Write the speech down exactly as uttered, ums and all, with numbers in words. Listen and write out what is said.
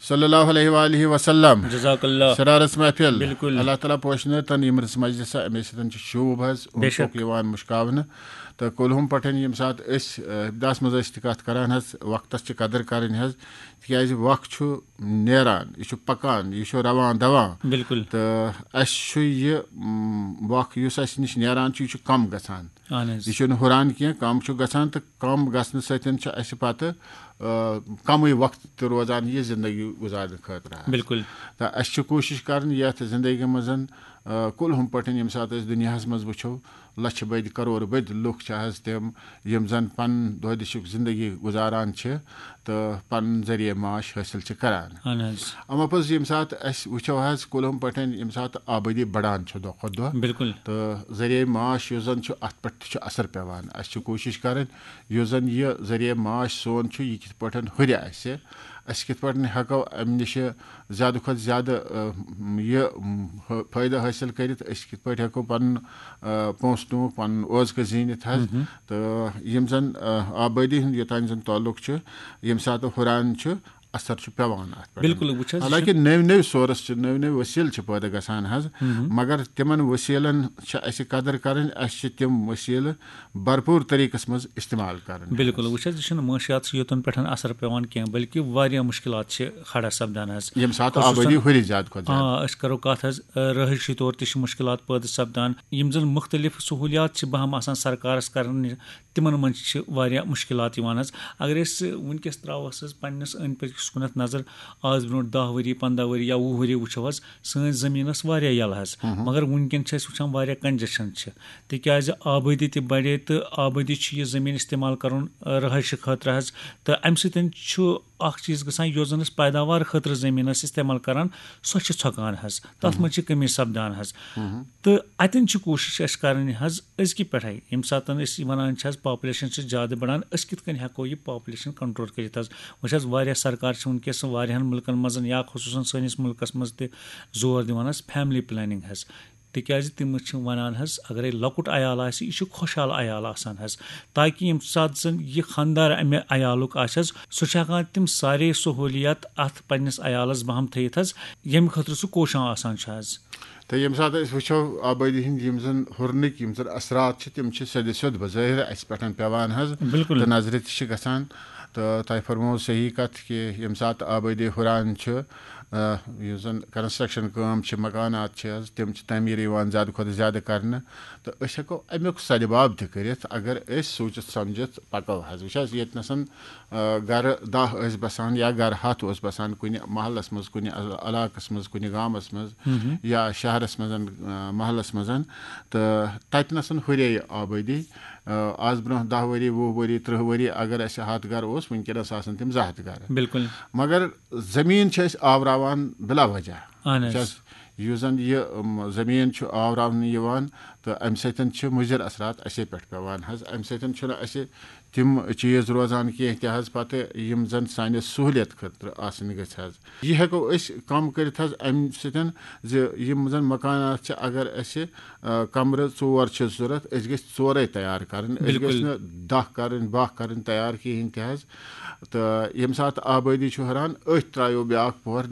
صلی اللہ علیہ وآلہ وسلم۔ جزاک اللہ۔ سرارس محفل۔ بالکل۔ اللہ تعالیٰ پوشنٲوتن یِم رٕژ مجلسہ، اَمے سۭتۍ چھِ شوٗب حظ بے شک۔ اوٚنٛدپوٚک یِوان مُشکاونہٕ۔ تہٕ کُلہُم پٮ۪ٹھ ییٚمہِ ساتہٕ أسۍ، اَ، اِبتداہس منٛز ٲسۍ تہِ کَتھ کَران حظ، وقتس چھِ قدٕر کَرٕنۍ حظ، تِکیٛازِ وقت چھُ نیران، یہِ چھُ پَکان، یہِ چھُ رَوان دَوان۔ بالکل۔ تہٕ اَسہِ چھُ یہِ، م، وق یُس اَسہِ نِش نیران چھُ، یہِ چھُ کَم گژھان۔ اہن حظ۔ یہِ چھُنہٕ ہُران کینٛہہ، کَم چھُ گژھان، تہٕ کَم گژھنہٕ سۭتۍ چھُ اَسہِ پَتہٕ، آ، کَمٕے وقت تہِ روزان یہِ زندگی گُزارنہٕ خٲطرٕ حظ۔ بالکل۔ تہٕ اَسہِ چھِ کوٗشِش کَرٕنۍ یَتھ زندگی منٛز، آ، کُلہُم پٲٹھۍ ییٚمہِ ساتہٕ أسۍ دُنیاہَس منٛز وٕچھو، لَچھِ بٔدۍ کَرورٕ بٔدۍ لُکھ چھِ حظ تِم، یِم زَن پَنُن دۄہ دِشُک زندگی گُزاران چھِ تہٕ پَنُن ذٔریعہٕ معاش حٲصِل چھِ کَران۔ اہن حظ۔ اما پوٚز ییٚمہِ ساتہٕ اَسہِ وٕچھو حظ، کُلہُم پٲٹھۍ ییٚمہِ ساتہٕ آبٲدی بَڑان چھِ دۄہ کھۄتہٕ دۄہ، بالکل۔ تہٕ ذٔریعہٕ معاش یُس زَن چھُ، اَتھ پٮ۪ٹھ تہِ چھُ اثر پٮ۪وان۔ اَسہِ چھِ کوٗشِش کَرٕنۍ یُس زَن یہِ ذٔریعہٕ معاش سون چھُ، یہِ کِتھ پٲٹھۍ ہُرِ اَسہِ، أسۍ کِتھ پٲٹھۍ ہٮ۪کو اَمہِ نِش زیادٕ کھۄتہٕ زیادٕ، آ، یہِ، م، فٲیدٕ حٲصِل کٔرِتھ، أسۍ کِتھ پٲٹھۍ ہٮ۪کو پَنُن، آ، پونٛسہٕ ٹونٛک، پَنُن اوزکہٕ زیٖنِتھ حظ۔ تہٕ یِم زَن، آ، آبٲدی ہُنٛد یوٚتام زَن تعلق چھُ، ییٚمہِ ساتہٕ ہُران چھُ، اثر چھُ پٮ۪وان اَتھ پٮ۪ٹھ۔ بالکل، وٕچھ حظ، یہِ چھُ حالانکہ نٔوۍ نٔوۍ سورس چھِ، نٔوۍ نٔوۍ وسیٖلہٕ چھِ پٲدٕ گژھان حظ، مگر تِمن وسیٖلن چھِ اَسہِ قدر کرٕنۍ، اَسہِ چھِ تِم وسیٖلہٕ بھرپوٗر طریٖقس منٛز استعمال کرٕنۍ۔ بالکل، وٕچھ حظ، یہِ چھُنہٕ معاشیاتسٕے یوتن پٮ۪ٹھ اثر پٮ۪وان کینٛہہ، بلکہِ واریاہ مُشکلات چھِ کھڑا سپدان حظ۔ ییٚمہِ ساتہٕ خصوٗصاً آبٲدی ہُرِ زیادٕ کھۄتہٕ زیادٕ۔ آ، أسۍ کرو کتھ حظ، آ، رہٲیشی طور تہِ چھِ مُشکلات پٲدٕ سپدان۔ یِم زن مُختٔلِف سہوٗلیات چھِ بہم آسان سرکارس کرنہِ، تِمن منٛز چھِ واریاہ مُشکلات یِوان حظ۔ اگر أسۍ وٕنکیٚس ترٛاوہوس حظ پننِس أنٛدۍ پٔکِس کُنتھ نظر، آز برونٛٹھ دَہ ؤری، پنٛداہ ؤری یا وُہ ؤری وٕچھو حظ، سٲنۍ زٔمیٖن ٲس واریاہ یَلہٕ حظ، مگر وٕنکیٚن چھِ أسۍ وٕچھان واریاہ congestion چھِ، تِکیٛازِ آبٲدی تہِ بڑے تہٕ آبٲدی چھِ یہِ زٔمیٖن استعمال کرُن، آ، رہٲیشہِ خٲطرٕ حظ۔ تہٕ اَمہِ سۭتۍ چھُ اکھ چیٖز گژھان، یۄس زن أسۍ پیداوار خٲطرٕ زٔمیٖن ٲسۍ استعمال کران، سۄ چھِ ژھۄکان حظ، تتھ منٛز چھِ کٔمی سپدان حظ۔ تہٕ اتٮ۪ن چھِ کوٗشش اَسہِ کرٕنۍ حظ أزکہِ پٮ۪ٹھے، ییٚمہِ ساتہٕ أسۍ ونان چھِ حظ population چھِ زیادٕ بڑان، أسۍ کِتھ کٔنۍ ہٮ۪کو یہِ population control کٔرِتھ حظ؟ وۄنۍ چھِ حظ واریاہ سرکار چھِ وٕنکیٚس واریاہن مُلکن منٛز یا خصوٗصاً سٲنِس مُلکس منٛز تہِ زور دِوان حظ family planning حظ، تِکیٛازِ تِم چھِ ونان حظ، اگرے لۄکُٹ عیال آسہِ، یہِ چھُ خۄشحال عیال آسان حظ، تاکہِ ییٚمہِ ساتہٕ زن یہِ خانٛدار امہِ عیالُک آسہِ حظ، سُہ چھُ ہٮ۪کان تِم سارے سہوٗلیات اتھ پننِس عیالس بہم تھٲیِتھ حظ، ییٚمہِ خٲطرٕ سُہ کوشاں آسان چھُ حظ۔ تہٕ ییٚمہِ ساتہٕ أسۍ وٕچھو آبٲدی ہٕنٛدۍ یِم زَن ہُرنٕکۍ یِم زَن اثرات چھِ، تِم چھِ سیٚدِ سیوٚد بظٲہِر اَسہِ پٮ۪ٹھ پٮ۪وان حظ۔ بِلکُل۔ تہٕ نظرِ تہِ چھِ گژھان۔ تہٕ تۄہہِ فرموو صحیح کَتھ کہِ ییٚمہِ ساتہٕ آبٲدی ہُران چھُ، آ، یُس زَن construction کٲم چھِ، مکانات چھِ حظ، تِم چھِ تعمیٖر یِوان زیادٕ کھۄتہٕ زیادٕ کَرنہٕ۔ تہٕ أسۍ ہٮ۪کو اَمیُک سدباب تہِ کٔرِتھ، اگر أسۍ سوٗنٛچِتھ سَمجِتھ پَکو حظ۔ وٕچھ حظ، ییٚتہِ نَسَن آ، گرٕ دَہ ٲسۍ بسان یا گرٕ ہَتھ اوس بسان کُنہِ محلس منٛز، کُنہِ عل-، علاقس منٛز، کُنہِ گامس منٛز یا شہرس منٛز، آ، محلس منٛز، تہٕ تتہِ نسن ہُرے آبٲدی۔ آ، آز برونٛہہ دَہ ؤری، وُہ ؤری، ترٕٛہ ؤری اگر اسہِ ہَتھ گرٕ اوس، وٕنکیٚنس آسن تِم زٕ ہَتھ گرٕ۔ بِلکُل۔ مگر زٔمیٖن چھِ أسۍ آوراوان بِلا وجہ۔ اہن حظ۔ یُس حظ، یُس زن یہِ، أم، زٔمیٖن چھُ آوراونہٕ یِوان تہٕ امہِ سۭتۍ چھِ مُضر اثرات اسے پٮ۪ٹھ پٮ۪وان حظ۔ امہِ سۭتۍ چھُنہٕ اسہِ تِم چیٖز روزان کینٛہہ تہِ حظ پتہٕ یِم زن سانہِ سہوٗلیت خٲطرٕ آسٕنۍ گٔژھۍ حظ۔ یہِ ہٮ۪کو أسۍ کم کٔرِتھ حظ امہِ سۭتۍ زِ یِم زن مکانات چھِ، اگر اسہِ، آ، کمرٕ ژور چھِ ضروٗرت، أسۍ گٔژھۍ ژورے تیار کرٕنۍ، أسۍ بِلکُل۔ گٔژھۍ نہٕ دَہ کرٕنۍ، باہ کرٕنۍ تیار کِہیٖنۍ تہِ حظ۔ تہٕ ییٚمہِ ساتہٕ آبٲدی چھُ ہُران، أتھۍ ترٛایو بیٛاکھ پوہر۔